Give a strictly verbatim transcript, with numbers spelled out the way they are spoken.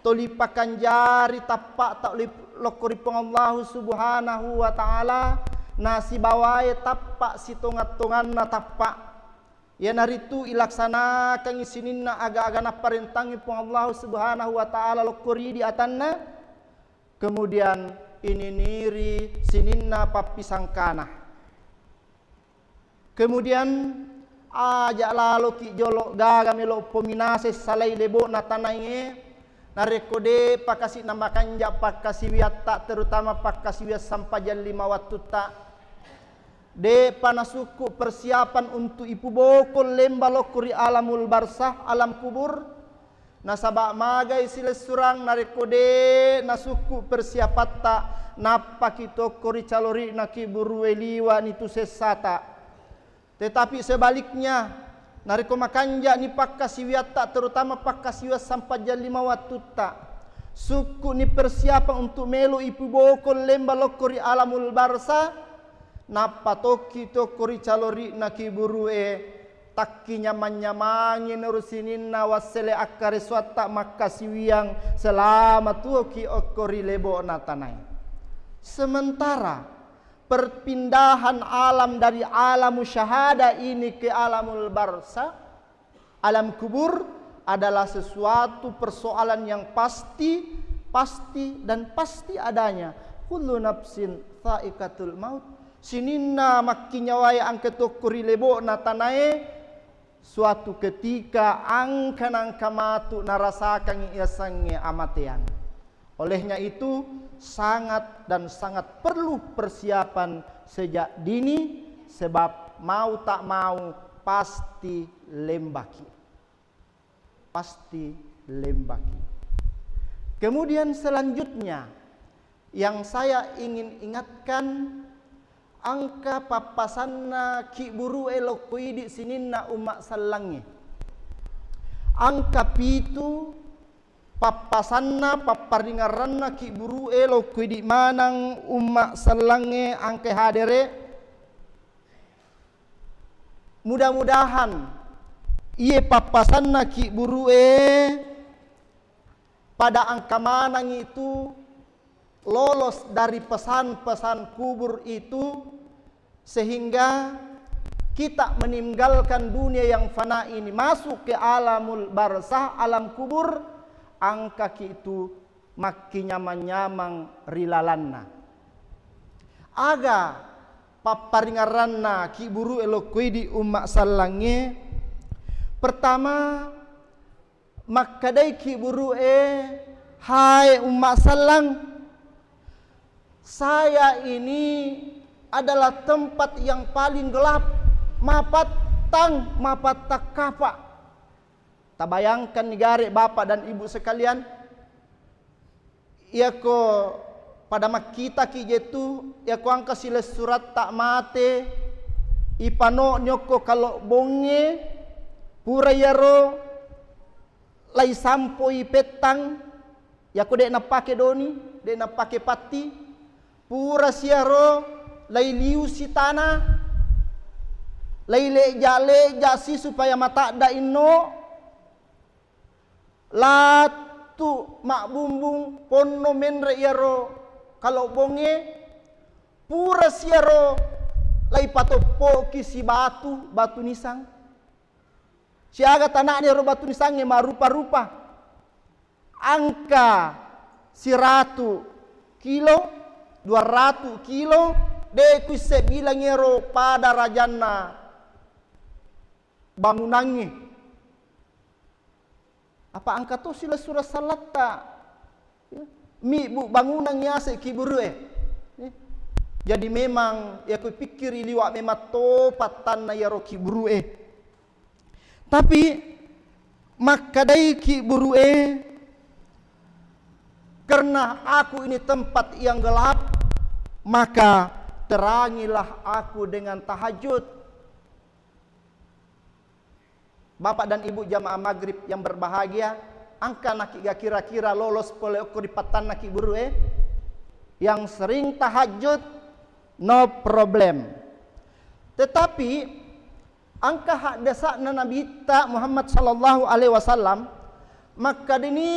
toli pakanjari tappa'ta li-, lokko ri Puang Allahu Subhanahu wa Ta'ala, nasibawae tappa sitonga-tonganna tappa. Iyanaritu ilaksanakangngi sininna aga-aga napparentangngi Puang Allahu Subhanahu wa Ta'ala lokko ri idi atanna, kemudian ininiri sininna pappisangkana. Kemudian, aja laloki jolo gaga melo pominaseng salai lebo'na tanae, narekko de'pa kasi namakanja pakkasiwiatta, terutama pakkasiwiang sampajang lima wattutta, de'pa nasukku persiapan untuk ipubokong lemba lokko ri alamul barzah, alam kubur, nasaba magai silessurang narekko de nasukku persiapatta, nappaki tokko ri calori'na kiburue liwa nitu sessata. Tetapi sebaliknya, narekko makanja'ni pakkasiwiatta, terutama pakkasiwiang sampajang lima wattutta, sukku'ni persiapan untuk melo ipubokong lemba lokko ri alamul barzah, nappa tokki tokko ri calori'na kiburue, takkinyamang-nyamangi nuru sininna wassele akkaresuatta makkasiwiang selama tuoki okko ri lebo'na tanae. Sementara perpindahan alam dari alamu syahada ini ke alamul barzah, alam kubur, adalah sesuatu persoalan yang pasti, pasti, dan pasti adanya. Kullu nafsin tsa'iqatul maut. Sininna makkinyawae engka tokko ri lebo'na tanae, suatu ketika engka nangka matu narasakangngi yasengnge amateang. Olehnya itu, sangat dan sangat perlu persiapan sejak dini, sebab mau tak mau pasti lembaki. Pasti lembaki. Kemudian selanjutnya, yang saya ingin ingatkan, engka pappasanna kiburue lokko idi sininna umma sellangnge. Engka pitu pappasanna, papparingerranna kiburue lokko idi maneng umma sellangnge engka hadere. Mudah-mudahan iye pappasanna kiburue pada engka maneng itu lolos dari pesan-pesan kubur itu, sehingga kita meninggalkan dunia yang fana ini, masuk ke alamul barzah, alam kubur, engkaki itu makkinyamang-nyamang ri lalanna. Aga papparingerranna kiburue lokko idi umma sellangnge? Pertama, makkedai kiburue, "Hai umma sellang, saya ini adalah tempat yang paling gelap, mapattang, mapattang kapa." Tabayangkan ni gare bapak dan ibu sekalian, iyako pada makkitaki jetu, iyako engka silessuratta mate, ipano nyokko kalobbongnge, pura iyaro laisampoi pettang, iyako de' nappake doni, de' nappake patti, pura siaro lailiusi tana, laileja-leja si supaya matadda inno, latu mabbumbung ponno menre iyaro kalobbongnge, pura siaro laipatoppoki si batu, batu nisang. Siaga tana'na iyaro batu nisangnge marupa-rupa. Engka siratu kilo, dua ratu kilo, de' kuisse bilang iyaro pada rajanna bangunangnge. Apa engka to silessureng sallatta, ya, mibbu bangunang yase kiburue. Ya. Jadi memang, ya, kupikkiri liwa memang to pattanna iyaro kiburue. Tapi makkedai kiburue, "Karena aku ini tempat yang gelap, maka terangilah aku dengan tahajud." Bapak dan Ibu jamaah maghrib yang berbahagia, engka naki ga kira-kira lolos pole okko ri pattanna kiburue? Yang sering tahajud, no problem. Tetapi engka haddesa'na Nabitta Muhammad sallallahu alaihi wasallam, makkedani